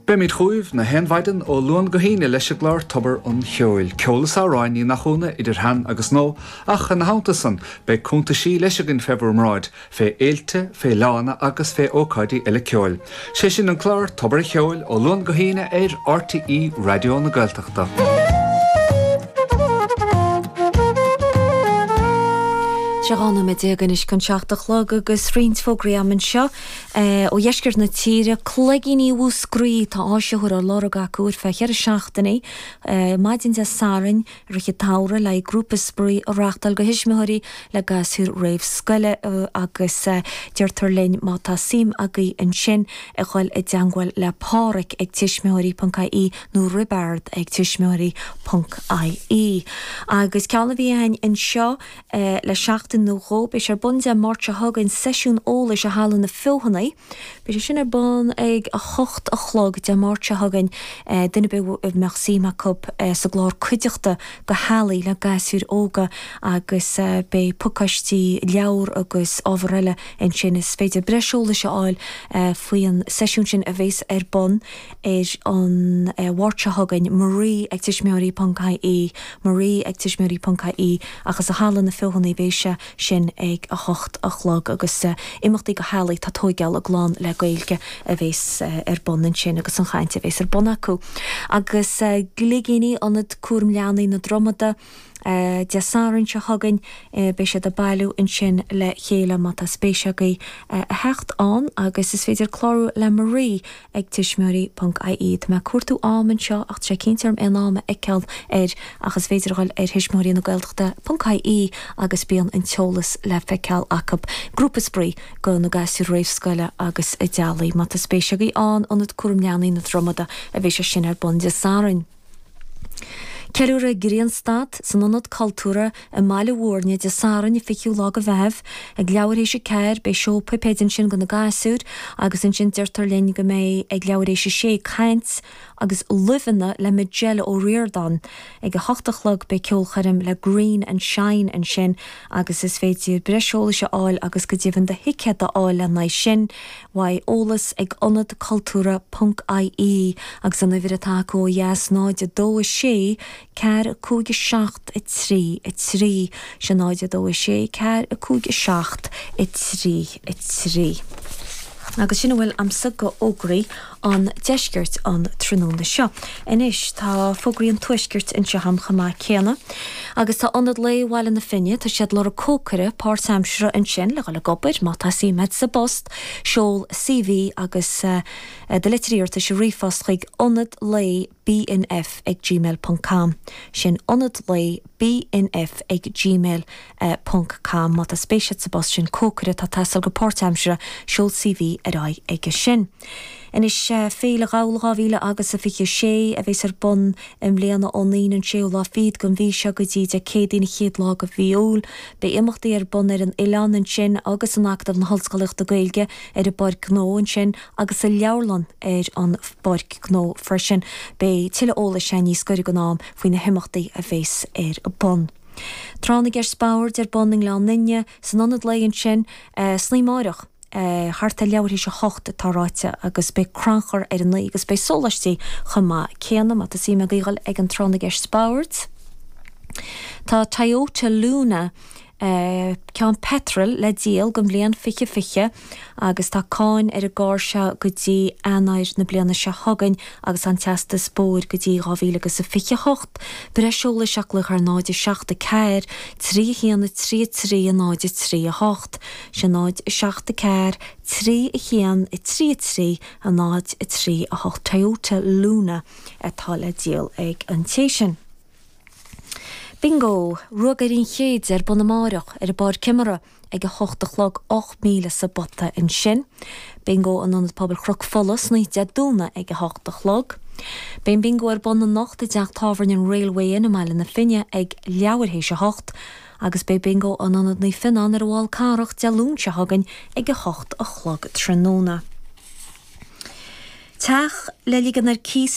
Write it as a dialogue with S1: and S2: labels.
S1: Beimid chugaibh na haon mhaidin ó Luan go hAoine leis an gclár Tobar an Cheoil. Ceol is amhráin, ní nach ionadh, idir shean agus nua, ach ina theannta san, beidh cuntaisí leis againn fé bhur mbráid, fé fhéilte, fé fhleánna agus fé ócáidí eile ceoil. Sé sin an clár Tobar an Cheoil ó Luan go hAoine ar RTÉ Raidió na Gaeltachta.
S2: Sé 12 nóiméad anois chun 7 a chlog agus roinnt fógraí agam anseo. Ó dheisceart na tíre, Cloigíní Mhúscraí, tá áisitheoir á lorg acu ar feadh cheithre seachtainí, maidin Dé Sathairn i rith an tsamhraidh le haghaidh grúpa spraoi a reachtáil do thuismitheoirí le gasúir réamhscoile agus deirtear linn má tá suim agaibh ansin a dhul i dteangmháil le Páraic ag tuismitheoirí.ie nó Roibeard ag tuismitheoirí.ie. Agus ceann a bhí againn anseo Le seachtain nó dhó, beidh sé ar bun Dé Máirt seo chugainn, seisiún eolais i Halla na Feothanaí. Beidh sé sin ar bun ag 8 a chlog Dé Máirt seo chugainn. Duine ar bith a mbeadh suim acu sa gclár Cuideachta do Theaghlaigh le gasúir óga agus beidh pacáistí leabhar agus ábhar eile ansin. Is féidir breis eolais a fháil faoi an seisiún sin a bhéas ar bun ar an Mháirt seo chugainn, Marie ag tuismitheoirí ponc ie, Marie ag tuismitheoirí ponc ie, ach is i Halla na Feothanaí a bheas sé sin ag 8 a chlog agus imeachtaí do theaghlaigh atá ag tóigeáil a gclann le Gaeilge a bheas ar bun ansin agus an chaint a bheas ar bun acu. Agus Gligíní, Ionad Cúram Leanaí na Dromada, Dé Sathairn seo chugainn beidh siad ag bailiú ansin le chéile má tá spéis agaibh a theacht ann agus is féidir clárú le Marie ag tuismitheoirí ponc ie. Tá mé ag cuartú am anseo ach tá sé cinnte orm aon am a fheiceáil air ach is féidir a dhul ar thuismitheoirí na Gaeltachta ponc ie agus bíonn an t-eolas le feiceáil acu. Grúpa spraoi do na gasúir réamhscoile agus a dteaghlaigh. Má tá spéis agaibh ann, Ionad Cúram Leanaí na Dromada a bheidh sé sin ar bun Dé Sathairn. Ceiliúradh Grianstad san Ionad Cultúrtha i mBaile Mhúirne Dé Sathairn an 20ú lá de Mheitheamh ag leathuair théis a 4. Beidh seó puipéid ansin do na gasúir agus ansin deirtear linn go mbeidh ag leathuair théis a 6 caint agus luibheanna le Majella Ó Ríordáin. Ag a hocht a chlog beidh ceolchoirm le Green and Shine ansin agus is féidir breis eolais a fháil agus go deimhin do thicéad a fháil lena aghaidh sin. uaidh eolas ag ionad cultúrtha ponc ie agus an uimhir atá acu ó dheas 0 2 6 4 5 7 3 3 Sin 0 2 6 4 5 7 3 3. Agus sin a bhfuil a'msa go fhógraí an deiscirt an tráthnóna seo. Anois tá fógraí an tuaiscirt anseo a'm chomh maith céanna. Agus tá Ionad Lae Bhaile na Finne, tá siad ag lorg cócaire páirtaimseartha ansin le dhul ag obair má tá suim a'd sa bpost, seol CV agus do litir iarratais i ríomhphost chuig ionad lae bnf ag gmail ponc com. Sin ionad lae bnf ag gmail ponc com. Má tá spéis agat sa bpost sin, cócaire atá ag teastáil go páirtaimseartha, seol CV ar aghaidh aige sin. Anois, Féile Ghabhla 2000 agus a 26 a bheas ar bun i mbliana ón Aoine an séú lá fichead den mhí seo go dtí Dé Céadaoin an chéad lá de mhí Iúil. Beidh imeachtaí ar bun ar an oileán ansin agus in Acadamh na hOllscolaíochta Gaeilge ar an bPáirc Ghnó ansin agus sa leabharlann ar an bPáirc Ghnó freisin. Beidh tuilleadh eolais againn níos gaire don am faoi na himeachtaí a bheas ar bun. Tráth na gCeist Boird ar bun i nGleann Fhinne, san Ionad Lae ansin, san oíche amáireach, thart ar leathuair théis a hocht atá ráite agus beidh crannchur ar a naoi agus beidh sóláistí chomh maith céanna má tá suim agaibh dhul ag an Tráth na gCeist Boird. Tá Toyota Luna ceann peitril le díol den bhliain 2020 agus tá cáin ar an gcarr seo go dtí Eanáir na bliana seo chugainn agus an teastas bóthair go dtí 2028. Breis eolais ach glaoch ar 0 7 4 3 1 3 3 0 3 8. Sin 0 7 4 3 1 3 3 0 3 8 Toyota Luna atá le díol ag an té sin. Bingo! Ruagairí an Chéid ar bun amáireach ar an bPáirc Imeartha ag 8 a chlog, 8,000 sa bpota ansin. Bingo in Ionad Pobail Chnoc Fola san oíche Dé Domhnaigh ag 8 a chlog. Beidh an bingo ar bun anocht i dteach tábhairne an Railway Inn i mBaile na Finne ag leathuair théis a hocht agus beidh bingo in Ionad Naomh Fionnán ar an bhFál Carrach Dé Luain seo chugainn ag 8 a chlog tráthnóna. Teach le ligean ar cíos.